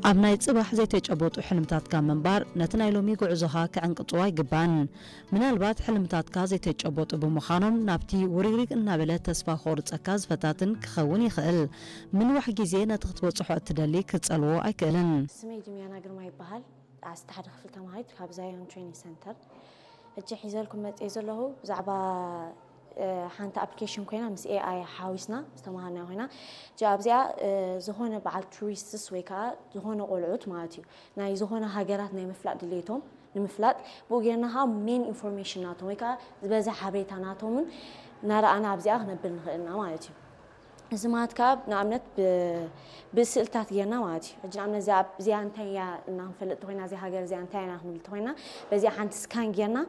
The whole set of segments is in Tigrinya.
ኣብ ናይ ጽባሕ ዘይተጨበጡ ሕልምታትካ ምንባር ነቲ ናይ ሎሚ ጉዕዞኻ ክዕንቅጽዎ ኣይግባን። ምናልባት ሕልምታትካ ዘይተጨበጡ ብምዃኖም ናብቲ ውሪሪግ እናበለ ተስፋ ክቖርጸካ ዝፈታትን ክኸውን ይኽእል። ምንዋሕ ግዜ ነቲ ክትበጽሖ እትደሊ ክጸልዎ ኣይክእልን። ስመይ ጂሚያና ግርማ ይበሃል። ዓሰርተ ሓደ ክፍሊ ተማሃሪት ካብ ዛዮን ትሬኒንግ ሰንተር። ሕጂ ሒዘልኩም መፅየ ዘለኹ ብዛዕባ ሓንቲ ኣፕሊኬሽን ኮይና ምስ ኤኣይ ሓዊስና ዝተምሃርናዮ ኮይና። እዚኣ ኣብዚኣ ዝኾነ በዓል ቱሪስትስ ወይ ከዓ ዝኾነ ቆልዑት ማለት እዩ ናይ ዝኾነ ሃገራት ናይ ምፍላጥ ድሌቶም ንምፍላጥ ብኡ ጌርና ከዓ ሜን ኢንፎርሜሽን ናቶም ወይ ከዓ ዝበዝሕ ሓበሬታ ናቶምን እናረኣና ኣብዚኣ ክነብል ንኽእል ኢና ማለት እዩ። እዚ ማለት ከዓ ንኣብነት ብስእልታት ጌርና ማለት እዩ። ሕጂ ንኣብነት እዚኣ እንታይ እያ እና ክንፈልጥ ተኮይና እዚ ሃገር እዚኣ እንታይ ኢና ክንብል ተኮይና በዚኣ ሓንቲ ስካን ጌርና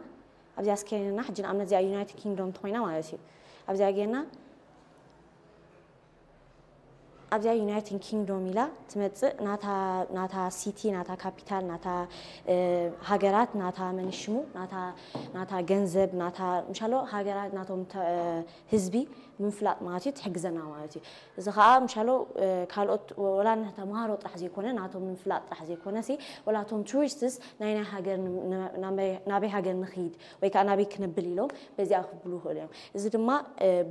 ኣብዚኣ ስካን ጌርና ሕጂ ንኣብነት እዚኣ ዩናይትድ ኪንግዶም ተኮይና ማለት እዩ ኣብዚኣ ጌርና ኣብዚኣ ዩናይትድ ኪንግዶም ኢላ ትመፅእ ናታ ሲቲ ናታ ካፒታል ናታ ሃገራት ናታ መንሽሙ ናታ ገንዘብ ናታ ምሻሎ ሃገራት ናቶም ህዝቢ ምፍላጥ ማለት እዩ ትሕግዘና ማለት እዩ። እዚ ከዓ ምሻሎ ካልኦት ወላ ተምሃሮ ጥራሕ ዘይኮነ ናቶም ምፍላጥ ጥራሕ ዘይኮነ ሲ ወላ ቶም ቱሪስትስ ናይ ናይ ሃገር ናበይ ሃገር ንኽይድ ወይ ከዓ ናበይ ክነብል ኢሎም በዚኣ ክብሉ ይኽእሉ እዮም። እዚ ድማ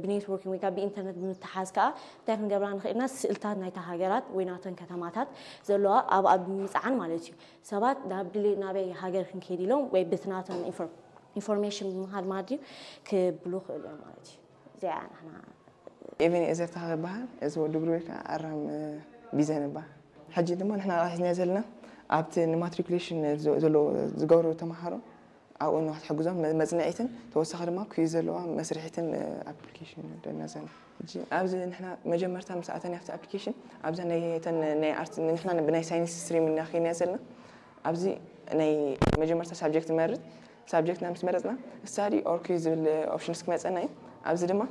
ብኔትወርኪንግ ወይ ከዓ ብኢንተርነት ብምትሓዝ ከዓ እንታይ ክንገብራ ንኽእልና ስእልታት ናይታ ሃገራት ወይ ናተን ከተማታት ዘለዋ ኣብኣ ብምምፅዓን ማለት እዩ ሰባት ናብ ድሌት ናበይ ሃገር ክንከይድ ኢሎም ወይ ብቲ ናተን ኢንፎርሜሽን ብምሃድ ማድዩ ክብሉ ይኽእሉ እዮም ማለት እዩ። እዚኣ ንሕና ኤቨን ኤዘር ተኸበሃል እዚ ወዲ ብሩይ ከዓ ኣራም ቢዘን ይበሃል። ሕጂ ድማ ንሕና ሒዝና ዘለና ኣብቲ ንማትሪኩሌሽን ዘለዎ ዝገብሩ ተምሃሮ ኣብኡ ንክትሕግዞም መፅንዒትን ተወሳኺ ድማ ኩዩ ዘለዋ መስርሒትን ኣፕሊኬሽን ደና ዘለና። ሕጂ ኣብዚ ንሕና መጀመርታ ምስ ኣተና ኣብቲ ኣፕሊኬሽን ኣብዛ ናይ ተን ናይ ኣርት ንሕና ብናይ ሳይንስ ስትሪም እናኸይና ዘለና ኣብዚ ናይ መጀመርታ ሳብጀክት ንመርፅ ሳብጀክትና ምስ መረፅና ስታዲ ኦር ኩዩ ዝብል ኦፕሽንስ ክመፀና እዩ። ኣብዚ ድማ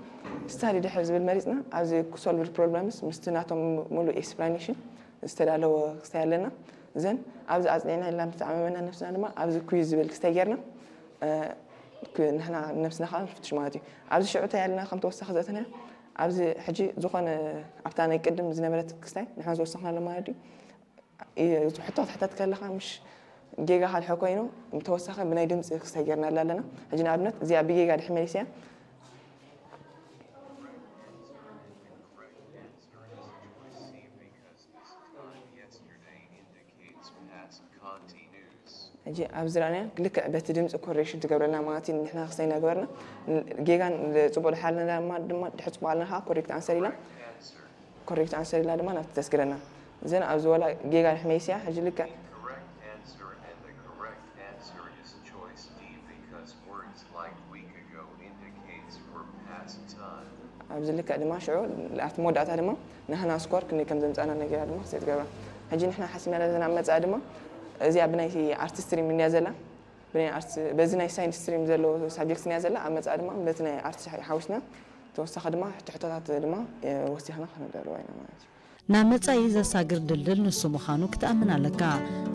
ስታዲ ድሕር ዝብል መሪፅና ኣብዚ ኩሶልቭድ ፕሮብለምስ ምስቲ ናቶም ሙሉእ ኤክስፕላኔሽን ዝተዳለወ ክስታይ ኣለና። ዘን ኣብዚ ኣፅኒዕና ኢልና ምስ ተዓመመና ነብስና ድማ ኣብዚ ኩዩ ዝብል ክስታይ ጌርና ንሕና ነብስና ከዓ ንፍትሽ ማለት እዩ። ኣብዚ ሽዑ እንታይ ኣለና ከም ተወሳኺ ዘእተናዮ ኣብዚ ሕጂ ዝኾነ ኣብታ ናይ ቅድም ዝነበረት ክስታይ ንሕና ዝወሰኽናሉ ማለት እዩ። ሕቶ ክትሕተት ከለኻ ምሽ ጌጋ ካልሖ ኮይኑ ተወሳኺ ብናይ ድምፂ ክስታይ ጌርናላ ኣለና። ሕጂ ንኣብነት እዚኣ ብጌጋ ድሕር መሊሰያ ሕጂ ኣብዚ ርኣናያ ልክዕ በቲ ድምፂ ኮሬክሽን ትገብረልና ማለት እዩ። ንሕና ክስታይ እናገበርና ጌጋን ፅቡቕ ድሓልና ድማ ድሕር ፅቡቕ ኣለና ከዓ ኮሬክት ኣንሰር ኢላ ኮሬክት ኣንሰር ኢላ ድማ ናብቲ ተስግረና ዘን ኣብዚ ወላ ጌጋ ድሕር መሊስያ ሕጂ ልክዕ ልክዕ ድማ ሽዑ ኣብቲ መወዳእታ ድማ ንሕና ስኮር ክንደይ ከም ዘምፃና ነገራ ድማ ክስታይ ትገብራ። ሕጂ ንሕና ሓሲብና ዘለና ኣብ መፃኢ ድማ እዚኣ ብናይቲ ኣርት ስትሪም እንድያ ዘላ በዚ ናይ ሳይንስ ስትሪም ዘሎ ሳብጀክት እንድያ ዘላ ኣብ መፃኢ ድማ በቲ ናይ ኣርት ሓዊስና ተወሳኺ ድማ ሕቶ ሕቶታት ድማ ወሲኽና ክነዳልዋ ኢና ማለት እዩ። ናብ መጻኢ ዘሳግር ድልድል ንሱ ምዃኑ ክትኣምን ኣለካ።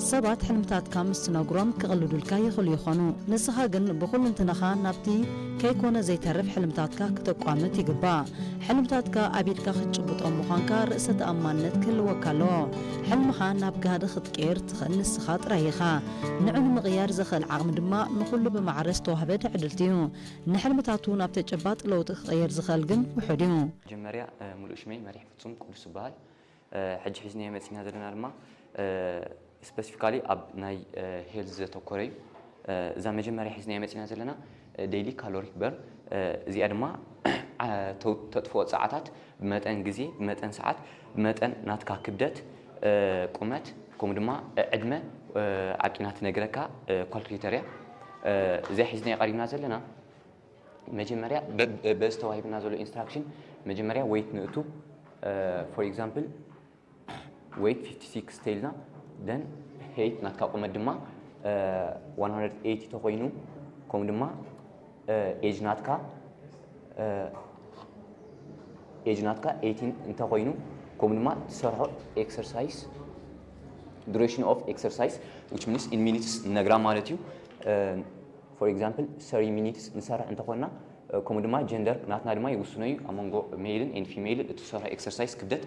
ሰባት ሕልምታትካ ምስ ትነግሮም ክቕልዱልካ ይኽእሉ ይኾኑ። ንስኻ ግን ብኹልንትናኻ ናብቲ ከይኮነ ዘይተርፍ ሕልምታትካ ክተቋምት ይግባእ። ሕልምታትካ ኣብ ኢድካ ክትጭብጦም ምዃንካ ርእሰ ተኣማንነት ክህልወካ ኣለዎ። ሕልምኻ ናብ ጋህዲ ክትቅይር ትኽእል ንስኻ ጥራይ ኢኻ። ንዑ ንምቕያር ዘኽእል ዓቕሚ ድማ ንኹሉ ብማዕረ ዝተዋህበ ትዕድልቲ እዩ። ንሕልምታቱ ናብ ተጨባጥ ለውጢ ክቕይር ዝኽእል ግን ውሑድ እዩ። መጀመርያ ሙሉእ ሽመይ መሪሕ ፍጹም ቅዱስ ይበሃል። ሕጂ ሒዝናዮ መጺና ዘለና ድማ ስፐሲፊካሊ ኣብ ናይ ሄልዝ ዘተኮረ እዩ። እዛ መጀመርያ ሒዝናዮ መጺና ዘለና ዴይሊ ካሎሪክ በርን እዚኣ ድማ ተጥፍኦ ጸዓታት ብመጠን ግዜ ብመጠን ሰዓት ብመጠን ናትካ ክብደት ቁመት ከምኡ ድማ ዕድመ ዓቂና ትነግረካ ካልኩሌተር እያ። እዚኣ ሒዝናዮ ቀሪብና ዘለና መጀመርያ በዚ ተዋሂብና ዘሎ ኢንስትራክሽን መጀመርያ ዌይት ንእቱ for example weight fifty six ተይልና then height ናትካ ቁመት ድማ one hundred eighty ተኮይኑ ከምኡ ድማ age ናትካ age ናትካ eighteen እንተኮይኑ ከምኡ ድማ ትሰርሖ exercise duration of exercise which means in minutes ንነግራ ማለት እዩ። for example thirty minutes ንሰርሕ እንተኮንና ከምኡ ድማ ጀንደር ናትና ድማ ይውስኖ እዩ ኣብ መንጎ ሜይልን and ፊሜይልን እቲ ትሰርሖ exercise ክብደት